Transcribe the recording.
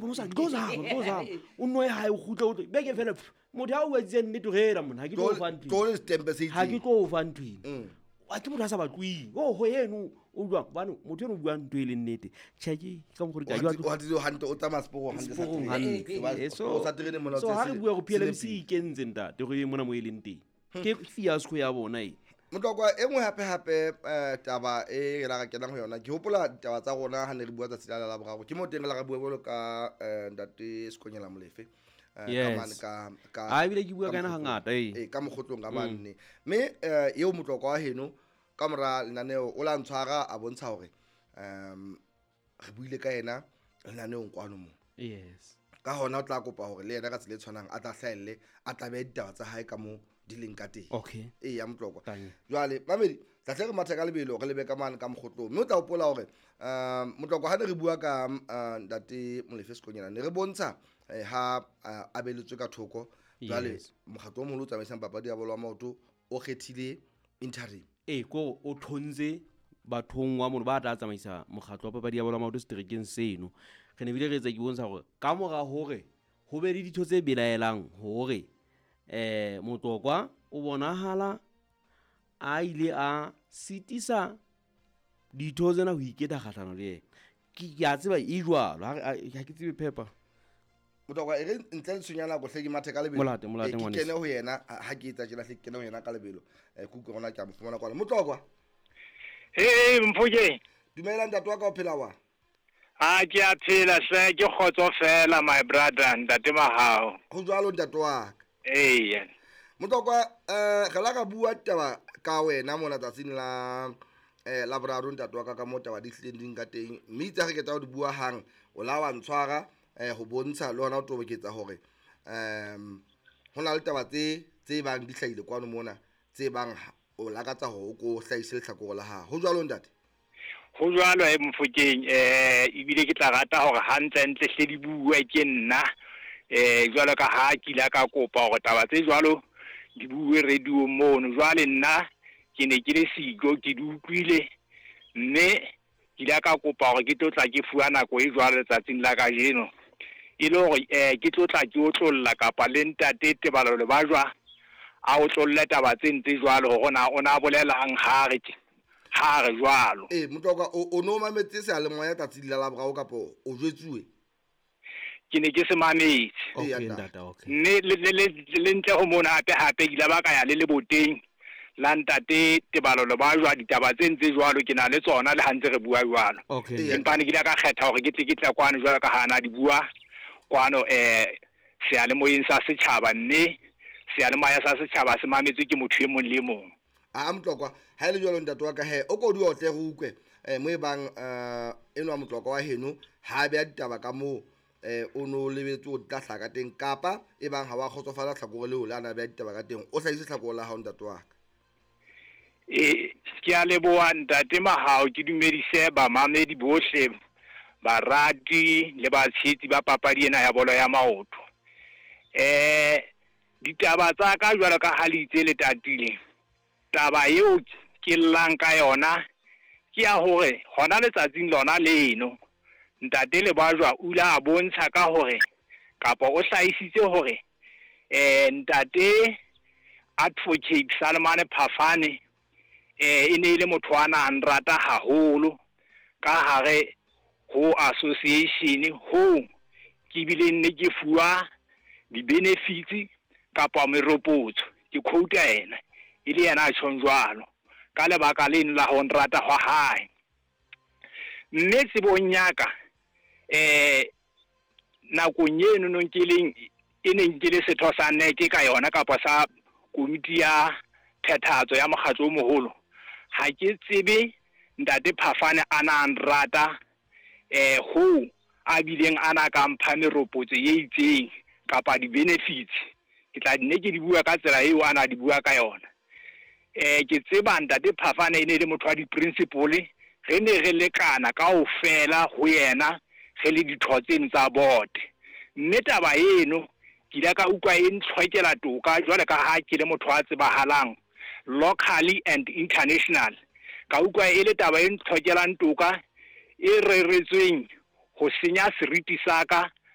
Bona o sa tlo zama, tlo zama. O nno ye hae o kgutle o tlo. Beke fela pf, motho ya o etsitse nnete o hela monna, ha ke tlo o fa ntho Tlo ena. le setempe se Ha ke itseng. tlo o fa ntho ena. Wa ke motho a sa batlweng. Oh, ho eno o jwang? Hobane motho eno o bua ntho e leng nnete. Tjhe, ke ka mokgwa o di ka jwang. O hatise hantle, o tsamaya seporong hantle sa Seporong terene. hantle. Hobane Eh, so seporo sa terene mona so se ha re se- bua go se PLMC nepile. e ikentse ntate go e mona mo e leng teng. Ke fiasco ya bona e. Motlokwa e nngwe hape hape taba e re la ra kenang ho yona, ke hopola ditaba tsa rona ha ne re bua tsatsi la la boraro, ke mo teng re la ra bua jwalo ka ntate Sekonyela Molefe, ka mane ka Ah, ebile ke bua ka ka yena mokgotlong. hangata, ee. Ee, ka mokgotlong ka mane. Mme eo Motlokwa wa heno ka mora lenaneo o la ntshwara a bontsha hore re buile ka yena lenaneong kwano mo. Ka hona o tla kopa hore le yena ka tsela e tshwanang a tla hlahelle, a tla beha ditaba tsa hae ka moo di leng ka teng. Ee, ya Motlokwa. Tanye. Jwale mamedi, tla tle re mathe ka lebelo re lebe ka mane ka mokgotlong. Mme o tla hopola hore Motlokwa ha ne re bua ka ntate Molefe Sekonyela, ne re bontsha ha a beletswe ka thoko. Jwale mokgatlo o moholo o tsamaisang papadi ya bolo ya maoto o kgethile interim. Ee, ko o thontse bathong wa mono ba tla tsamaisa mokgatlo wa papadi ya bolo ya maoto seterekeng seno. Re ne bile re etsa ke bontsha hore ka mora hore ho be le ditho tse belaelang hore Motlokwa o bonahala a ile a sitisa ditho tsena ho iketla kgahlano le yena. Ke a tseba e jwalo, ha re, ha ke tsebe phepa. Motlokwa, e re ntle le tshwenya nako hle ke mathe ka lebelo. Molate, molate, Ke ngwaneso. kene ho yena, ha ke etsa tjena hle ke kene ho yena ka lebelo. Ke utlwe hore na ke a mo fumana kwana. Motlokwa. Hey, Mfokeng. Dumela ntate wa ka, o phela wa? Ha ke a phela hle, ke kgotso fela my brother, ntate Mahao. Ho jwalo ntate wa ka. Eya. Motlokwa, re la ka bua taba ka wena mona tsatsing la boraro ntate wa ka, ka moo taba di hlileng di nka teng. Mme itse ha re qeta ho di bua hang, o la wa ntshwara ho bontsha le hona ho toboketsa hore ho na le taba tse bang di hlahile kwano mona, tse bang o lakatsa hore o ko hlahise lehlakore la hao. Ho jwalo ntate? Ho jwalo, Mofokeng, ebile ke tla rata hore hantle-ntle hle di bue ke nna. Jwalo ka ha ke ile ka kopa hore taba tse jwalo di bue radio mono. Jwale nna ke ne ke le siko, ke di utlwile, mme ke ile ka kopa hore ke tlo tla ke fuwa nako e jwalo letsatsing la kajeno, e le hore ke tlo tla ke otlolla kapa le ntate Tebalo Lebajwa a otlolle taba tse ntse jwalo, hore na o na bolelang ha re tje, ha re jwalo. Ee, Motlokwa, o no mametse seyalemoya tsatsi la laboraro kapa o jwetsuwe? Ke ne ke se mametse. Ee, ya Okay, ntate. ntate, okay. Mme le ntle ho mona hape hape ke ile ba ka ya le leboteng la ntate Tebalo Lebajwa, ditaba tse ntse jwalo ke na le tsona le ha ntse re bua jwalo. Okay. Ee, Empa ne ke ile ka kgetha hore ke tle ke tle kwano jwalo ka ha na di bua kwano seyalemoyeng sa setjhaba, mme seyalemoya sa setjhaba se mametswe ke motho e mong le e mong. A Motlokwa, ha e le jwalo ntate wa ka he, o ko di otle re utlwe, mo e bang enwa Motlokwa wa heno ha a beha ditaba ka moo, o no lebetse o tla hlaka teng, kapa e bang ha wa kgotsofala tlhakore leo le a na beha ditaba ka teng, o hlahise tlhakore la hao ntate wa ka. Ke a leboha ntate Mahao, ke dumedise bamamedi bohle, barati le batshehetsi ba papadi ena ya bolo ya maoto. Ditaba tsa ka jwalo ka ha le itse le tatile, taba eo ke llang ka yona ke ya hore hona letsatsing lona leno ntate Lebajwa o ile a bontsha ka hore kapa o hlahisitse hore ntate Advocate Salmane Phafane e ne e le motho a na nrata haholo ka hare ho association, ho ke bile nne ke fuwa di-benefits kapa meropotso, ke quote yena e le yena a tjhong jwalo ka lebaka leno la ho nrata hwa hae. Mme tsebong ya ka, nakong eno nong ke leng, e neng ke le setho sa NEC ka yona kapa sa komiti ya phethahatso ya mokgatlo o moholo, ha ke tsebe ntate Phafane a na nrata, ho a bileng a na ka mpha meropotso e itseng kapa di-benefits. Ke tla nne ke di bua ka tsela eo a na di bua ka yona. Ke tseba ntate Phafane e ne le motho wa di-principle, re ne re lekana kaofela ho yena re le ditho tseno tsa board. Mme taba eno ke ile ka utlwa e ntlhokela toka jwale ka ha ke le motho a tsebahalang locally and international. Ka utlwa e le taba e ntlhokelang toka e reretsweng ho senya seriti sa ka